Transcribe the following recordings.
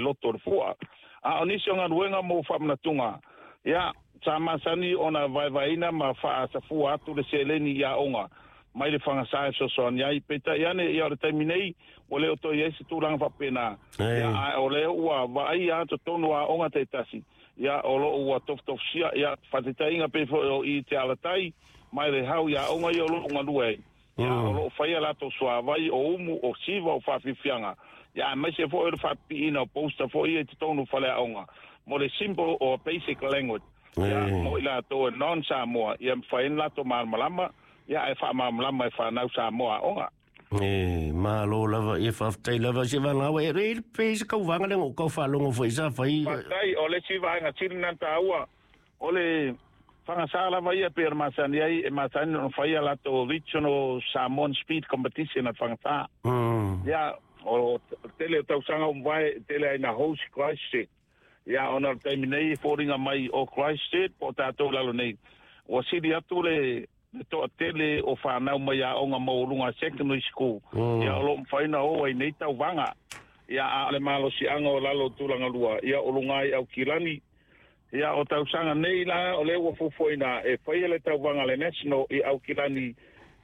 loto o le fua. A o nisi o galuega mo faamanatuga, ia, sa masani ona vaevaeina ma faasafua atu le seleni i aoga mai le fagasa e fesoasoani ai. Peitai ane, ia, o le taimi nei, ua le o toe i ai se tulaga faapena. Ia, ae o lea ua vaaia lava totonu o aoga taitasi, ia, o lo o ua tofutofusia, ia, faataitaiga pei foi o i Te Alatai ma le Hau i aoga ia o lo o galue ai. Ia, o lo o faia latou suavai o umu, o siva, o faafiafiaga, ia, aemaise foi o le faapipiina o poster foi ia i totonu o faleaoga mo le simple or basic language, ia, mo i latou e non Samoa, ia mafai ai ona latou malamalama, ia, ae faamalamalama e fanau Samoa aoga. E, malo lava, ia faafetai lava se valaau e e pe se tauvaga le o kau faalogo foi sa fai. Faafetai, o le isi vaega sili na taua, o le fagasa lava ia pei ona masani ai, e masani ona faia latou Regional Samoan Speed Competition a fagasa. Ia, o tele o tausaga ua mavae, e tele ai na host Christchurch. Ia, ona o le taimi nei e foliga mai o Christchurch po o tatou i lalo nei, ua sili atu le toatele o fanau mai aoga maualuga secondary school, ia, o lo o mafai ona o ai nei tauvaga. Ia, a o le malosiaga o lalo o tulaga lua, ia, o luga ai Aukilani. Ia, o tausaga nei la, o lea ua fuafuaina e faia le tauvaga a le National i Aukilani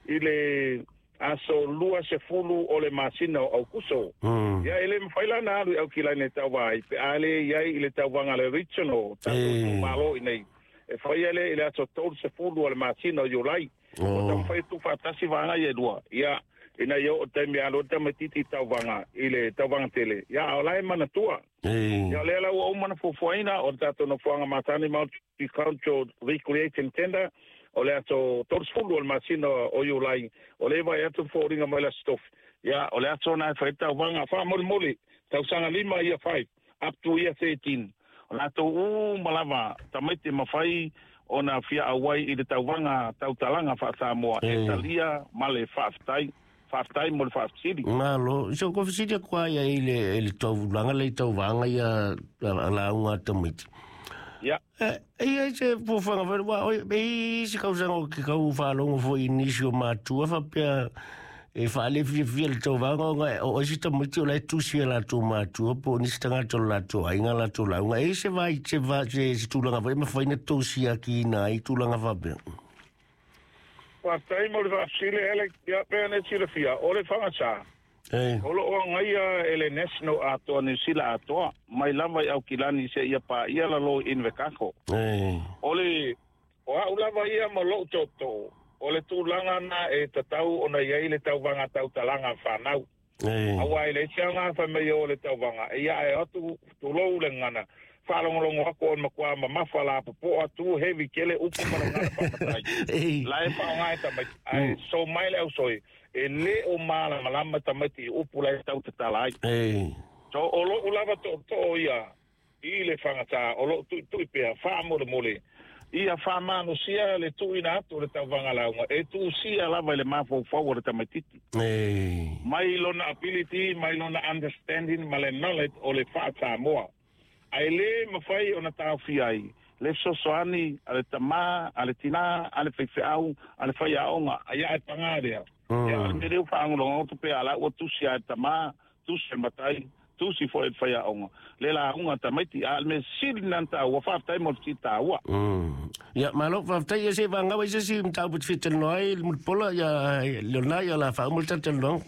i le aso 20 o le masina o Aukuso. Ia, e le mafai la ona alu i Aukilani e tauva ai, pe a le i ai i le tauvaga a le Regional, tatou itumalo i nei. E faia lea i le aso 30 o le masina o Iulai. Ua taumafai e tuufaatasi vaega ia e lua, ia, ina ia oo i le taimi e alu ai le tamaitiiti i tauvaga, i le tauvaga tele, ia, a o la e manatua. Ia, o lea la ua uma ona fuafuaina, o le tatou nofoaga masani Multicultural Recreation Centre, o le aso 30 o le masina o Iulai, o lea e vaai atu le foliga mai le Aso Tofi, ia, o le aso lena e fai ai le tauvaga. Faamolemole, tausaga 5, year 5, up to year 13, o latou uma lava tamaiti e mafai ona fia auai i le tauvaga tautalaga faa-Samoa e talia ma le faafetai. Faafetai mo le faafesili. Malo. So ko fesili atu ai i le i le taulaga le tauvaga ia a lauga a tamaiti. Ia. E ia se fuafuaga foi ua oi e se kausaga o ke kau faalogo foi i nisi o matua faapea e faale fiafia le tauvaga ona o isi tamaiti o la e tusi e latou matua po o nisi tagata o le latou aiga latou lauga. E se vai se va se, se tulaga foi e mafai ona tou siakiina ai tulaga faapea. Faafetai mo le faafesili Alex. Ia, pei ona e silafia, o le fagasa, E. o lo o agaia e le National atoa Niu Sila atoa, mai lava i Aukilani seia paia lalo i Invercargill. E. O le, o au lava ia ma lou tootoo, o le tulaga na e tatau ona i ai le tauvaga tautalaga a fanau. E. Aua e leai se aoga fai mai o le tauvaga, e ia ae o atu tulou le gagana, faalogologo atu o le matua mamafa lapopoa tu heavy tele upu ma le gagana faamatai. E. La e faaaoga e tamaiti, ae so mai le ausoe, e le o malamalama tamaiti i upu la e tau tatala ai. E. So o lou lava tootoo ia i le fagata, o lou tuitui pea faamolemole, ia faamalosia le tuuina atu o le tauvaga lauga e tuusia lava i le mafaufau o le tamaitiiti. E. Mai lona ability, mai lona understanding ma le knowledge o le faa-Samoa. Ae le mafai ona taofia ai le fesoasoani a le tamā, a le tinā, a le faifeau, a le faiaoga, ia ae paga lea. Ia, o le mea lea ua faalogologo pea la ua tusi lava e le tamā, tusi e le matai, tusi foi e le faiaoga, le lauga a tamaiti, a o le mea sili lena ona taua, faafetai mo le fesili taua. Ia, malo, faafetai, ia se i vagau ai se isi mataupu e te fia talanoa ai, Mulipola, ia Leonard, ia o le a faauma le tatou talanoaga.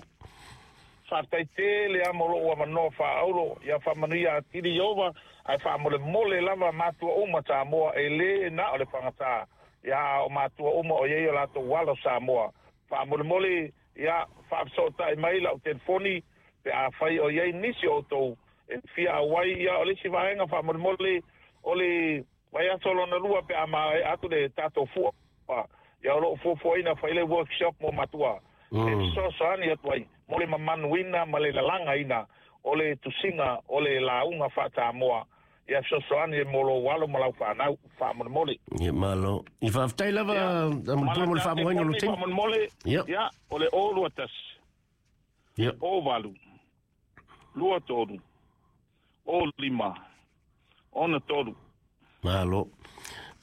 Faafetai tele lava mo lou avanoa faaaulo, ia faamanuia atili Ieova, ae faamolemole lava matua uma Samoa, e le na o le fagata, ia a o matua uma o i ai o latou alo Samoa. Faamolemole, ia faafesootai mai lau telefoni pe afai o i ai nisi o outou e fia auai. Ia o le isi vaega faamolemole, o le vaiaso lona lua pe a maea atu le tatou fua, ia o lo o fuafuaina fai le workshop mo matua e fesoasoani atu ai mo le mamanuina ma le lalagaina o le tusiga o le lauga faa-Samoa, ia fesoasoani mo lou alo ma lau fanau faamolemole. Ia, malo. Ia faafetai lava Ia, Mulipola mo le faamoeina o lou taimi. Faamolemole, Ia. ia, o le 021, Ia. 08, 23, 05, 63. Malo.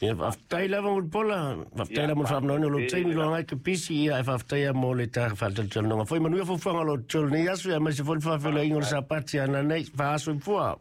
Ia faafetai lava Mulipola, faafetai Ia, lava mo le faamoeina o lou faafetai taimi tele. loa ngai ke pisi, ia ae faafetai lava mo le ta faatalatalanoaga. Foi manuia fuafuaga o lo tolu nei aso, ia aemaise foi le faafeiloaiga o le Sapati ana nei, faasoifua.